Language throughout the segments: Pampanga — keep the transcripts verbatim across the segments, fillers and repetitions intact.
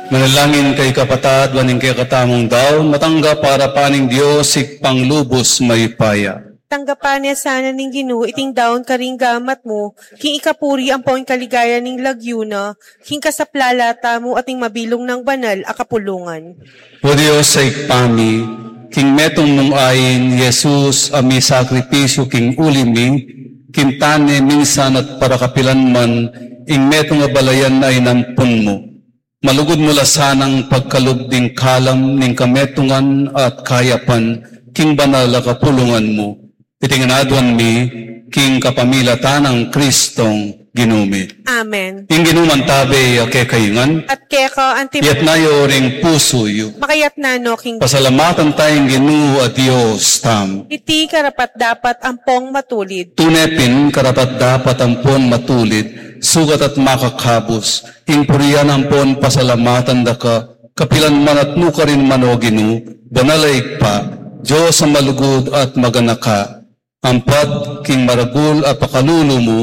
Manalangin kayu kapatad, ban ing kekatamung daun matanggap para pa ning Dios, Ibpang lubus mayupaya. Tanggapan na sana ning Ginu iting daun karing gamat mu, king ikapuri ampon kaligayan ning lagyu na, king kasaplalan tamu at ning mabilug nang banal a kapulungan. O Dios a Ibpa mi, king metung mung ain Jesus a misakripisyu king uli mi, kintan ne minsan at para kapilan man, ing metung a balayan a inampun mu. Malugud mu la sanang pagkalub ding kalam ning kametungan at kayapan king banal a kapulungan mu. Iti ngan aduan mi king kapamilatan nang Kristong Ginu mi. Amen. Ing Ginu mantabe ya kekayu ngan. At keka anti. Iyatas yu ring pusu yu. Makayatas no king. Pasalamatan taya ing Ginu a Dios tamu. Iti karapat-dapat ampong matulid. Tune pin karapat-dapat ampon matulid, sukat at makakabus, ing purian ampon pasalamatan da ka, kapilan man at nukarin man, o Ginu, banal a Ibpa, Dios a malugud at maganaka, ampat king maragul a pakalulu mu,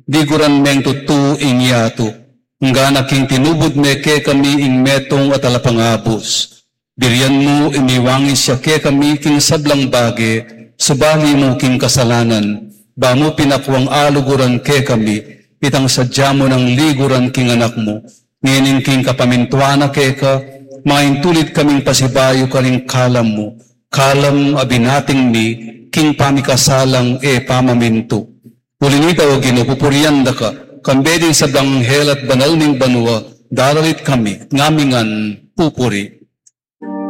liguran meng tutu ing yatu, nggana king tinubud me kekami ing metung a talapangabus. Birian mu imiwangis ya kekami king sablang bage, subali mu king kasalanan, ba mu pinakuang aluguran kekami, itang sadya mu nang liguran king Anak mu, ngening king kapamintuan na keka, maintulid kaming pasibayu karing kalam mu, kalam a binating mi, king pamikasalang e pamamintu. Uli nita, o Ginu, pupurian da ka, kambe ding sablang anghel at banal ning banua, daralit kami, ngamingan pupuri.